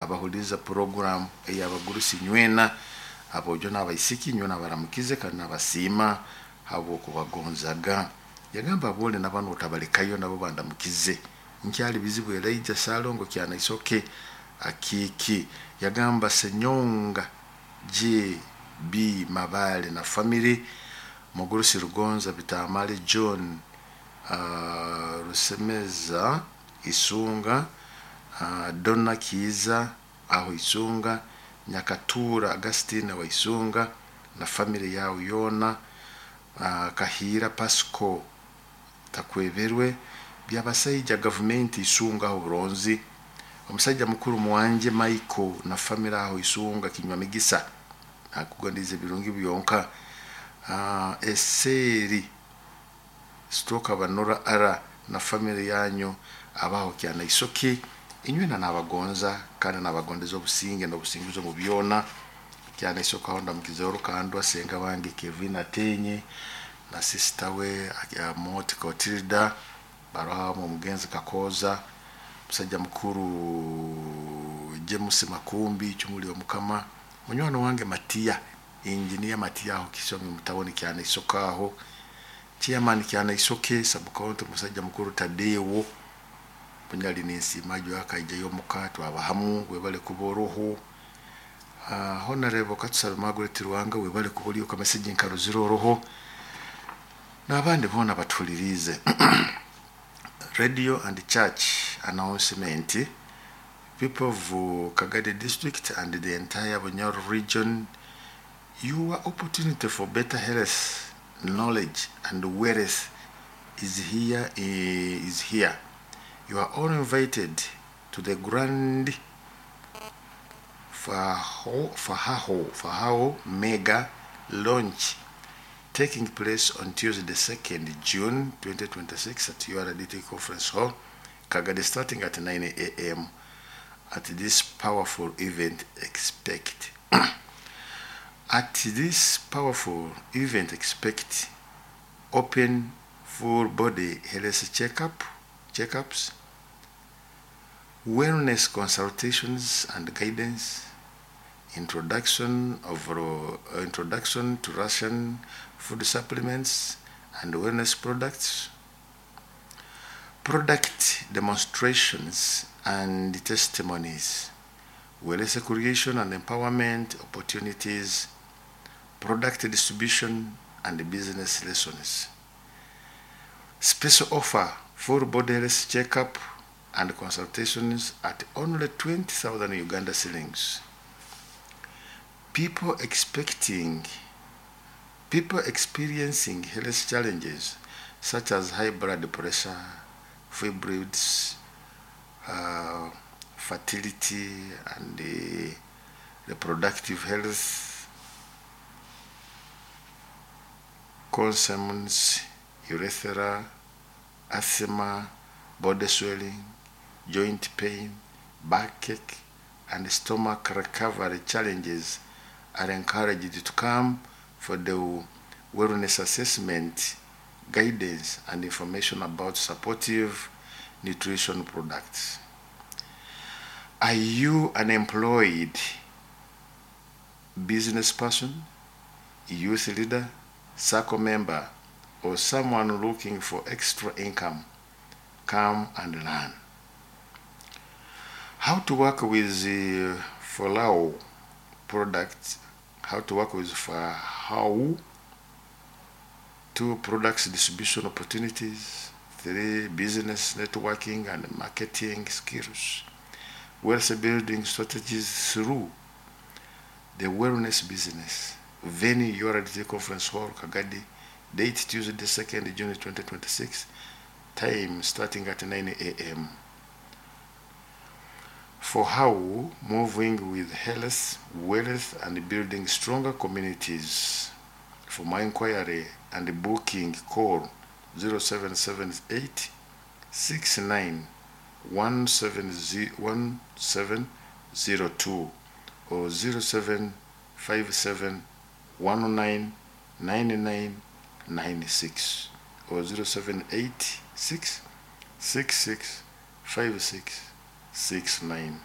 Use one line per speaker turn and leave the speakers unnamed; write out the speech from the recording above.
Abahuliriza program ey'abagurusi nywena, aboojo n'abaisiki, nyowe nabaramukize kandi nabasiima habw'okubagonzaga. Yagamba aboole na banu otabalekayo, nabo bandamukize. Nkyali bizibu Elijah Salongo Kyanaisoke Akiiki. Yagamba Senyonga J.B. Mabale na family, Mugurusi Rugonza Bitamale John, Rusemeza Isunga, Donna Kiiza aho Isunga, Nyakatura Augustine wa Isunga na family yawe yoona, Kahiira Pasco Takweberwe, Byabasaija gavumenti Isunga aho Buronzi, omusaija mukuru Mwanje Michael na family aho Isunga Kinywa Migisa, nakugondize ebirungi byonka. Eseri Stroke Abanura Ara na family yanyu abaho Kyanaisoke, inywena nabagonza kandi nabagondeza obusinge n'obusinguzi omu byona. Kyanaisoke aho ndamukizeho Rukandwa senga wange Kevin Atenye na sister we Moti Cotilda, baroho omugenzi Kakooza, musajja mukuru James Makumbi Chumuli Omukama, munywani wange Matiya, engineer Matiya aho Kisonge mutawuni Kyanaisoke aho, chairman Kyanaisoke sub county musajja mukuru Tadeo Bunyali, ninsiima akaijayo omuka twaba hamu, webale kuba oroho. Honorable Katusabe Margaret Ruhanga, webale kuba oli okamessage nkarozire oroho, n'abandi boona batuhuliriize. Radio and church announcement. People of Kagadi District and the entire Bunyoro region, your opportunity for better health, knowledge and wealth is here. Is here. You are all invited to the Grand Fahao Mega Launch taking place on Tuesday, 2nd June 2026 at URDT Conference Hall, Kagadi, starting at 9 a.m. At this powerful event, expect At this powerful event, expect open full body health checkups, wellness consultations and guidance, introduction to Russian food supplements and wellness products, product demonstrations and testimonies, wealth creation and empowerment opportunities, product distribution and business lessons. Special offer: full body health checkup and consultations at only 20,000 Uganda shillings. People experiencing health challenges such as high blood pressure, fibroids, fertility and reproductive health concerns, urethra, asthma, body swelling, joint pain, backache, and stomach recovery challenges are encouraged to come for the wellness assessment, guidance, and information about supportive nutrition products. Are you an employed business person, youth leader, circle member, or someone looking for extra income? Come and learn. How to work with the Folao products, how to work with How two products distribution opportunities, three business networking and marketing skills, wealth building strategies through the wellness business. Venue: URDT Conference Hall, Kagadi. Date: Tuesday, 2nd June 2026. Time starting at 9 a.m. For how moving with health, wealth, and building stronger communities. For my inquiry and booking, call 0778 69 1702 or 0757 199996 or 0786 6656 69.